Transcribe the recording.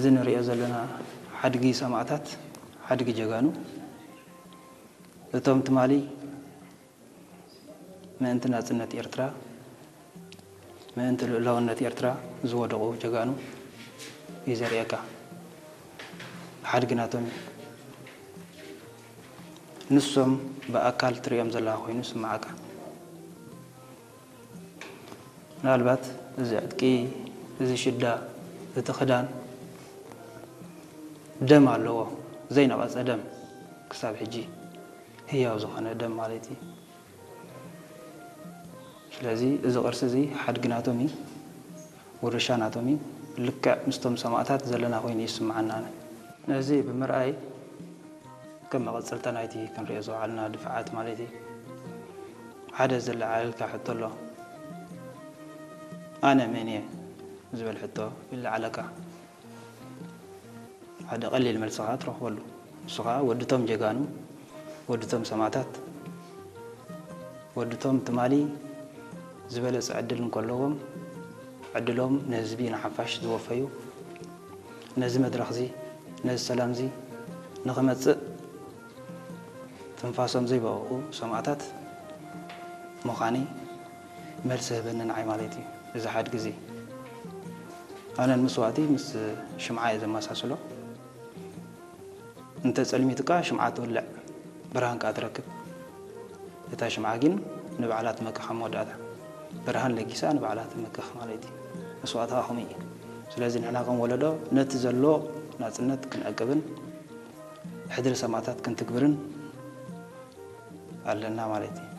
እዚ ንሪኦ ዘለና ሓድጊ ሰማእታት፣ ሓድጊ ጀጋኑ፣ እቶም ትማሊ ምእንቲ ናጽነት ኤርትራ፣ ምእንቲ ልኡላውነት ኤርትራ ዝወደቑ ጀጋኑ እዩ ዘርእየካ። ሓድጊ ናቶም እዩ። ንሶም ብኣካል ትሪኦም ዘለኻ ኮይኑ ይስምዓካ። ምናልባት እዚ ዕጥቂ፣ እዚ ሽዳ፣ እቲ ክዳን ደም ኣለዎ፣ ዘይነቐጸ ደም፣ ክሳብ ሕጂ ህያው ዝኾነ ደም ማለት እዩ። ስለዚ እዚ ቅርሲ እዚ ሓድጊ ናቶም እዩ፣ ውርሻ ናቶም እዩ። ልክዕ ምስቶም ሰማእታት ዘለና ኮይኑ እዩ ዝስምዓና። ነዚ ብምርኣይ ከም መቐጸልታ ናይቲ ክንሪኦ ዝወዓልና ድፍዓት ማለት እዩ። ሓደ ዘለዓዕለልካ ሕቶ ኣሎ። ኣነ መን እየ ዝብል ሕቶ ይለዓለካ። ሓደ ቀሊል መልሲ ኸዓ ትረኽበሉ። ንሱ ኸዓ ወድቶም ጀጋኑ፣ ወድቶም ሰማእታት፣ ወድቶም ትማሊ ዝበለጸ ዕድል እንከለዎም ዕድሎም ንህዝቢ ንሓፋሽ ዝወፈዩ፣ ነዚ መድረኽዚ፣ ነዚ ሰላምዚ ንኽመጽእ ትንፋሶም ዘይበቐቑ ሰማእታት ምዃነይ መልሲ ህበኒ ንዓይ ማለት እዩ። እዚ ሓድጊ እዚ ኣነ ንመስዋእቲ ምስ ሽምዓ እየ ዘመሳስሎ። እንተ ጸልሚቱካ ሽምዓ ትውልዕ፣ ብርሃን ከኣ ትረክብ። እታ ሽምዓ ግን ንባዕላ ትመክኻ መወዳእታ። ብርሃን ለጊሳ ንባዕላ ትመክኽ ማለት እዩ። መስዋእቲ ከኣ ከምኡ እዩ። ስለዚ ንሕና ከም ወለዶ ነቲ ዘሎ ናጽነት ክንዕቅብን ሕድሪ ሰማእታት ክንትግብርን ኣለና ማለት እዩ።